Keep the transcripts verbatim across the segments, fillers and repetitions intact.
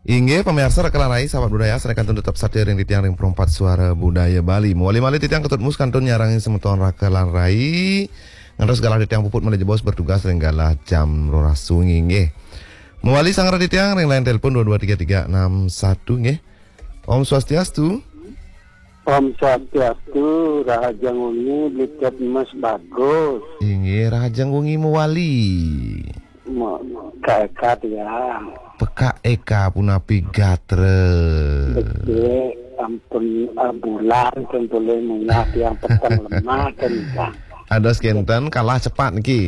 Inggih, pamiarsa Raka lan Rai, sahabat budaya, sané kantun tetep satia ring titiang ring Perempat Suara Budaya Bali. Mawali malih titiang Ketut Mus kantun nyarengin semeton Raka lan Rai. Ngantos galah titiang puput malih jebos bertugas ring galah jam roras wengi, nggih. Mawali sanggra titiang ring line telepon dua dua tiga tiga enam satu, nggih. Om Swastiastu. Om Swastiastu, rahajeng wengi, Bli Tet Mas Bagus. Inggih, rahajeng wengi mawali. Mo-, Kak Eka tiang. Pekak Eka punapi gatra? Becik, ampun, ah, bulan ten boleh munggah tiang peteng lemah ten, Kak. Ados kenten kalah cepat niki.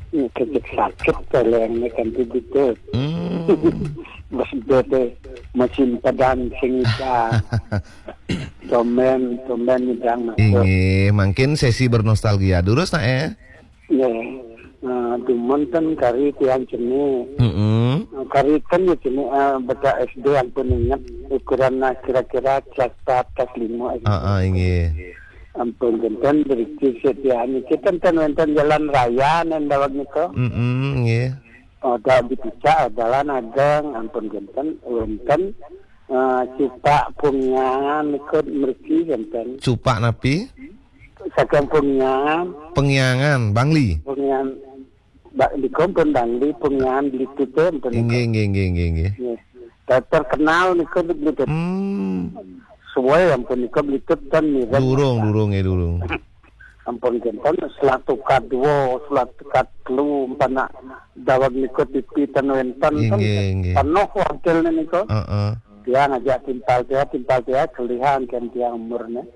Ini kecek sakit teleng ni kan tu betul. Hmm. Bes bete mesin pedan sing ika. Tomen, tomen nyidang masuk. Inggih, mangkin sesi bernostalgia. Durus nak, eh? Ya. Nah, dumun ten kari tiang cenik. Mm-mm. Nah, kari ten ya cenik, ah, bocah S D ampun inget ukuran, nah, kira-kira kelas empat, kelas lima S D. Ah, ah, inggih. Ampun kenten berikir setiaan niki ten, ten wenten jalan raya nen daweg nika. Mm-mm, nggih. Ada di pucak jalan ageng, ampun kenten wenten, eh, cupak punyangan ikut mriki kenten. Cupak napi? Saking punyangan. Punyangan, Bangli. Punyangan, ba-, nika pun Bangli, punyangan Bli Tet pun. Inggih, inggih, inggih, inggih, inggih. Nggih. Ter-, terkenal nika Bli Tet. Hmm. Suwe ampun nika Bli Tet kan mirip. Durung, durung, ya, durung. Ampun kenten, Selatuka dua, Selatuka telu, ampun nak daweg nika tipi ten wenten, kan inggih, inggih, penuh wakilnya nika. Heeh. Tiang ajak timpal tiang, timpal tiang, kelihan kan tiang umurnya.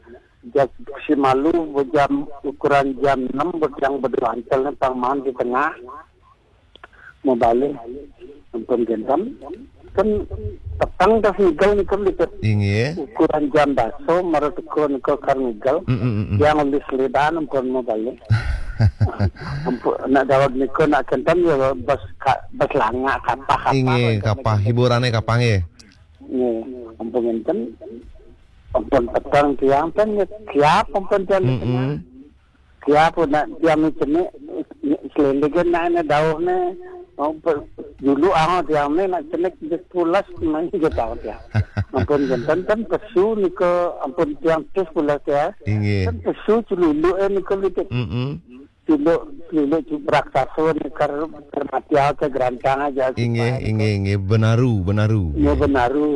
Jak si malu, bejam, ukuran jam enam, bejang berdua antel ni pang maan di tengah. Mau balik. Ampun kenten. Kan peteng tas ngigel nika Bli Tet. Inggih. Ukuran jam baso, mara teka nika kar ngigel. Mm, mm, mm, mm. Tiang ulis lidan ampun mau balik. Ampun, nak daweg nika nak kenten ya bas ka-, bas langak kapah, kapah. Inggih, kapah. Hiburannya kapah, nggih. Nggih, ampun kenten. Ampun peteng tiang ten, ya, siap ampun tiang di tengah. Mm-mm. Siap nak tiang ni cenik, selendek nak ni dauh ni. Oh, pe-, dulu ah tiang ni nak cenik di pulas main ke tahu tiang. Ampun kenten ten pesu nika ampun tiang tis pulas ya. Inggih. Ten pesu celuluk eh nika Bli Tet. Mm-mm. Celuluk, celuluk cu-, raksasa ni kar, kar mati ke gerantang aja. Inggih, inggih, inggih. Benaru, benaru. Ya, inggih, benaru.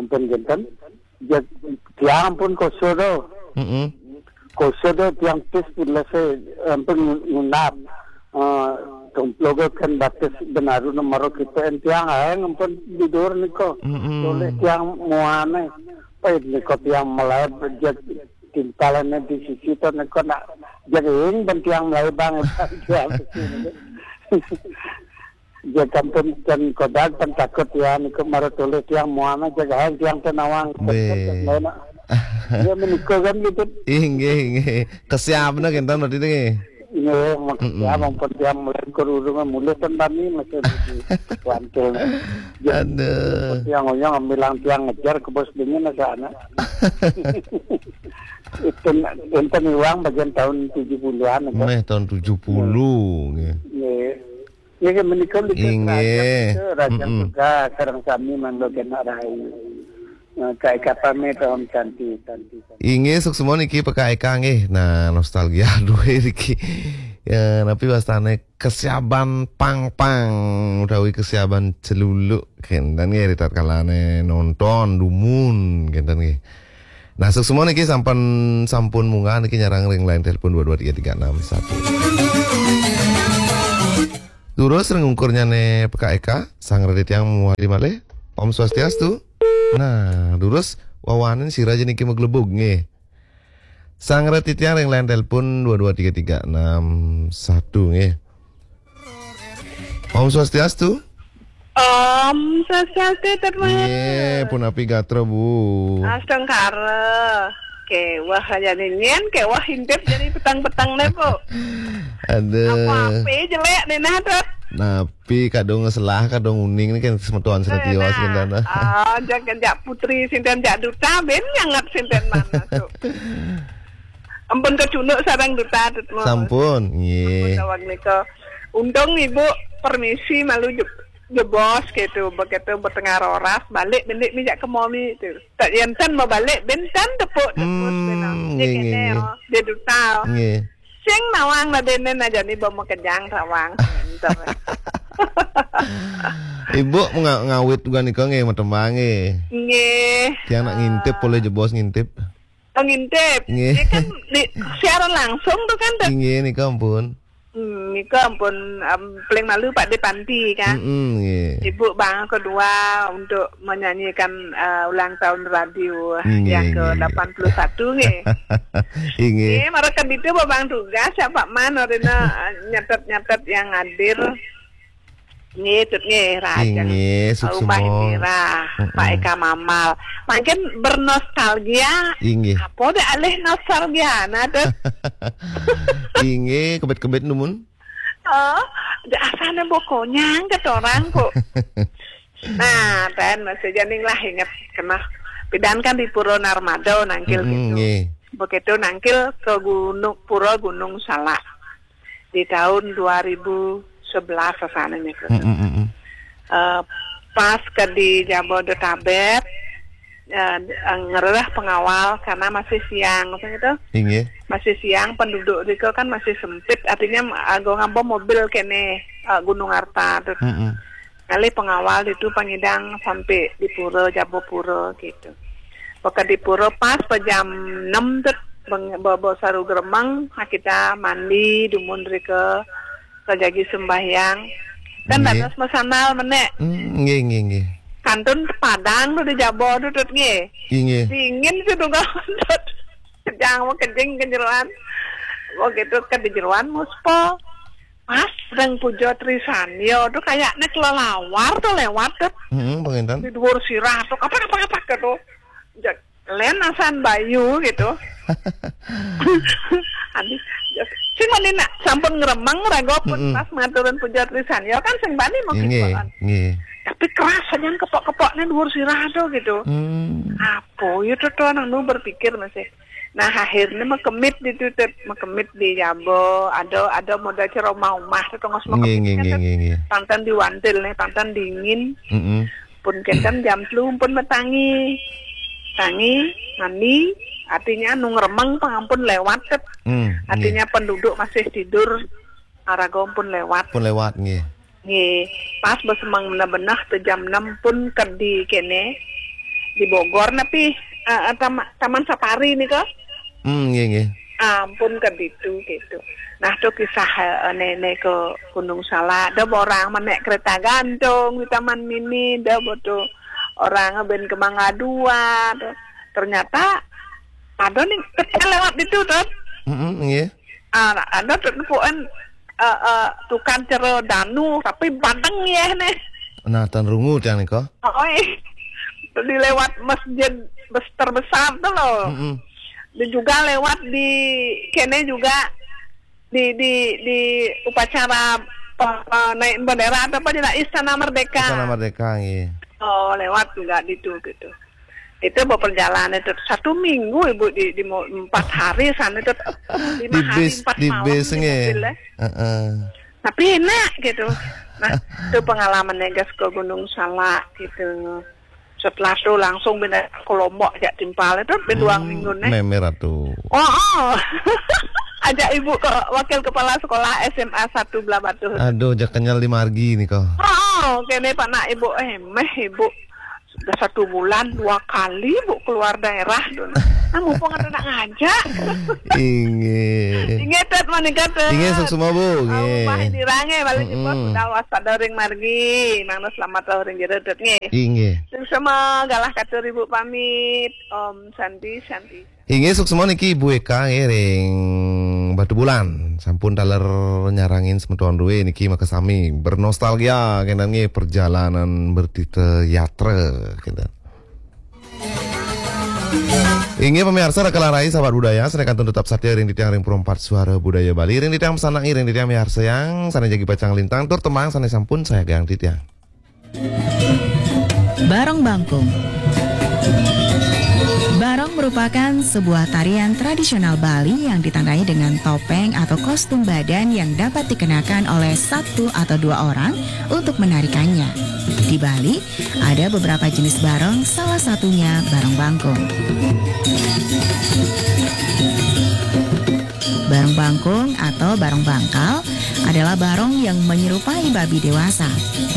Ampun kenten. Ja-, tiang pun koso tu. Mm-mm. Koso tu tiang tis pun lese, ampun ngundap. Eh, tumplo ke kan batis benaru nomor kita en tiang aeng ampun tidur niko. Mm-mm. Toleh tiang muane. Pait niko tiang melai bejak timpalan di sisi tu niko nak jaging ben tiang melai bang tiang. Jagampun ten kodag ten takut ya, niku mara tulis tiang muana jagahan tiang ten nawang. Be. Ya, menika kan gitu. Inggih, inggih. Kesiapna kenten berarti nggih. Iya, maksudnya, mm-mm, ampun tiang melengkur urung mulih ten tani masih di Kuantul. Aduh. Tiang oyong ambilang tiang ngejar ke bos dingin asa anak. Itu enten iwang bagian tahun tujuh puluhan, kan? Meh tahun tujuh puluh, nggih. Nggih. Nggih, menika lho, inggih, kerajaan, kerajaan, mm-mm, juga sareng sami mangga kena rai. Nah, kae kapame tahun cantik, cantik, cantik. Inggih, suksma niki P K Eka nggih. Nah, nostalgia duwe niki. Ya, napi wastane kesiaban pangpang utawi kesiaban celuluk kenten nggih, ri tatkalane nonton dumun kenten nggih. Nah, suksma niki sampun, sampun munggah niki nyarang ring line telepon dua dua tiga tiga enam satu. Durus ring ungkurnyane P K Eka, sang radi tiang muwali malih. Om Swastiastu. Nah, durus wawanin sira aja niki maglebug nggih. Sang radi tiang ring line telepon dua dua tiga tiga enam satu nggih. Om Swastiastu. Om Swastiastu, Tet Mas. Nggih, punapi gatra, Bu? Astungkara. Kewah aja nyen, kewah intip jadi petang-petang ne, Bu. Aduh. Apa-apa jelek ne nah, Tet. Napi kadung selah, kadung uning ni kan semeton senetios, nah, kenten. Ah, jak, jak putri sinten, jak duta ben nyanget sinten mana tu. Ampun kecunduk sareng duta, Tet Mas. Sampun, nggih. Ampun daweg nika. Untung Ibu permisi malu juk. Jebos gitu, begitu betengah roras, balik bendik mijak ke momi tu. Tak jantan mau balik, bentan tepuk tepuk Hmm, benang. Dia nggih, nggih, kene, nggih. Oh, dia duta. Oh. Nggih. Sing nawang nadenen aja ni bawa kejang sawang. Bentar. Ibu menga-, ngawit juga nika nggih, matembang nggih. Nggih. Tiang nak ngintip, boleh jebos ngintip. Oh, ngintip. Nggih. Dia kan di, siaran langsung tu kan, tu. Nggih, nika ampun. Hmm, nika ampun, em, paling malu Pak di panti kan. Mm-mm, nggih. Ibu bang kedua untuk menyanyikan, eh, ulang tahun radio Nggih, yang nggih, nggih. Ke delapan puluh satu nggih. Nggih. Nggih, mereka itu bang tugas siapa man orina, eh, nyatet-nyatet yang hadir. Nggih, tut nggih, Raja. Nggih, suksma. Rumah Indira, Mm-mm. Pak Eka Mamal. Makin bernostalgia. Inggih. Apa deh alih nostalgia, nah, tut? Inggih, kebet-kebet numun. Oh, dia asalnya bokonyang ke orang kok. Nah, dan masih janing lah ingat kena pidan kan di Pura Narmada nangkil Mm-mm, gitu. Nggih. Begitu nangkil ke Gunung, Pura Gunung Salak di tahun dua ribu sebelas sana nih. Mm-mm, mm-mm. Eh, pas ke di Jabodetabek, eh, ngererah pengawal karena masih siang, gitu. Inggih. Masih siang, penduduk riko kan masih sempit, artinya, eh, ago ngabo mobil kene, eh, Gunung Arta tu. Mm-mm. Ngalih pengawal itu pengidang sampai di pura, Jabo Pura gitu. Peka di pura pas pe jam enam tu, beng-, bo-, bo saru geremeng, nah kita mandi, dumun riko, ke jagi sembahyang. Kan Nggih. Dados mesandal menek. Hmm, nggih, nggih, nggih. Kantun Padang tu di Jabo tu, tut nggih. Inggih. Dingin tu, tut. Kejang mau kejing ke jeroan. Mau gitu ke di jeroan muspa. Pas sedang puja Trisanyo tu kayaknya kelelawar tu lewat tu. Hmm, pengintan. Di dhuwur sirah tu, kapan, kapan, kapan tu. Jak, len asan bayu gitu. Adi, jak, sing bani nak sampun ngremeng raga pun Mm-mm. Pas maturun puja Trisanyo kan sing bani mau Nggih, gitu kan. Nggih. Tapi keras aja kepok-kepoknya dhuwur sirah tu gitu. Hmm. Apa ya tu, tu anak nu berpikir masih. Nah, akhirnya mekemit di tu, Tut. Mekemit di Jabo, ada, ada modal ceromah umah tu, tengos Nggih, mekemit nggih, kan, nggih, Tut. Nggih, nggih. Pantan di Wantil nih, pantan dingin. Mm-mm. Pun kenten jam telu pun metangi. Tangi, mandi, artinya nu ngremeng pangampun lewat, Tut. Hmm, Artinya nggih. Penduduk masih tidur, araga pun lewat. Pun lewat, nggih. Nggih, pas besemang benah-benah tu jam enam pun kedi kene di Bogor napi, eh, eh, tama-, Taman Safari ni ke? Hmm, nggih, nggih. Ampun kedi tu gitu. Nah, tu kisah, eh, nenek ke Gunung Salak. Ada orang menek kereta gantung di Taman Mini, ada betul orang ben ke Mangga Dua tu. Ternyata ada ni kereta lewat itu tu. Hmm, nggih. Ah, ada tu puan, eh, eh, tukang cero danu, tapi banteng ya nih. Nah, tan rungu tiang nika. Oi. Dilewat masjid bes-, terbesar tu loh. Mm-mm. Dia juga lewat di kene juga di, di, di upacara pe-, pe-, naik bendera atau apa di Istana Merdeka. Istana Merdeka, nggih. Oh, lewat juga di tu gitu. Itu berperjalanan itu satu minggu ibu di, di mo-, empat hari sana itu lima Di hari bis, empat di malam bis, di nggih. Mobil, eh. Heeh. Tapi enak gitu. Nah, itu pengalamannya gas ke Gunung Salak gitu. Setelah itu langsung pindah ke Lombok jak timpal itu dua Hmm, minggu nih. Memer atuh. Oh, oh. Ajak ibu ke wakil kepala sekolah S M A satu Belah Batu. Aduh, jak kenyal di margi ni kok. Oh, kene Pak nak ibu, eh, meh ibu. Sudah satu bulan dua kali bu keluar daerah tu. Nah, mumpung ada nak ngajak. Inggih. Inggih, Tut, manika, Tut. Inggih, suksma, Bu. Nggih. Bah dirange balik Mm-mm. Sudah waspada ring margi. Mangda selamat ring jero, Tut, nggih. Inggih. Suksma galah katur ibu pamit. Om Santi, Santi. Inggih, suksma niki Ibu Eka nggih ring Batubulan. Sampun taler nyarengin semeton duwe niki makasami bernostalgia kenten nggih perjalanan bertita yatra kenten. Inggih pamiarsa, raka lan rai sahabat budaya, sané kantun tetap satia ring titiang ring Perempat Suara Budaya Bali, ring titiang pesanan, ring titiang miarsayang, sané jagi pacang lintang tur tembang sané sampun sayagang titiang. Bareng Bangkung. Barong merupakan sebuah tarian tradisional Bali yang ditandai dengan topeng atau kostum badan yang dapat dikenakan oleh satu atau dua orang untuk menarikannya. Di Bali, ada beberapa jenis barong, salah satunya barong bangkung. Barong bangkung atau barong bangkal adalah barong yang menyerupai babi dewasa.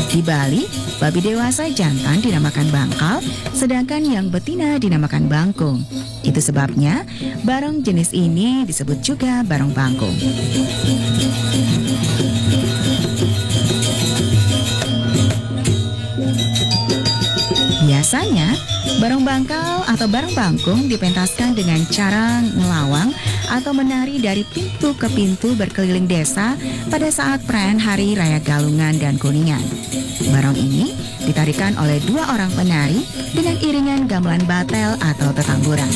Di Bali, babi dewasa jantan dinamakan bangkal, sedangkan yang betina dinamakan bangkung. Itu sebabnya barong jenis ini disebut juga barong bangkung. Biasanya, barong bangkal atau barong bangkung dipentaskan dengan cara ngelawang atau menari dari pintu ke pintu berkeliling desa pada saat perayaan Hari Raya Galungan dan Kuningan. Barong ini ditarikan oleh dua orang penari dengan iringan gamelan batel atau tetamburan.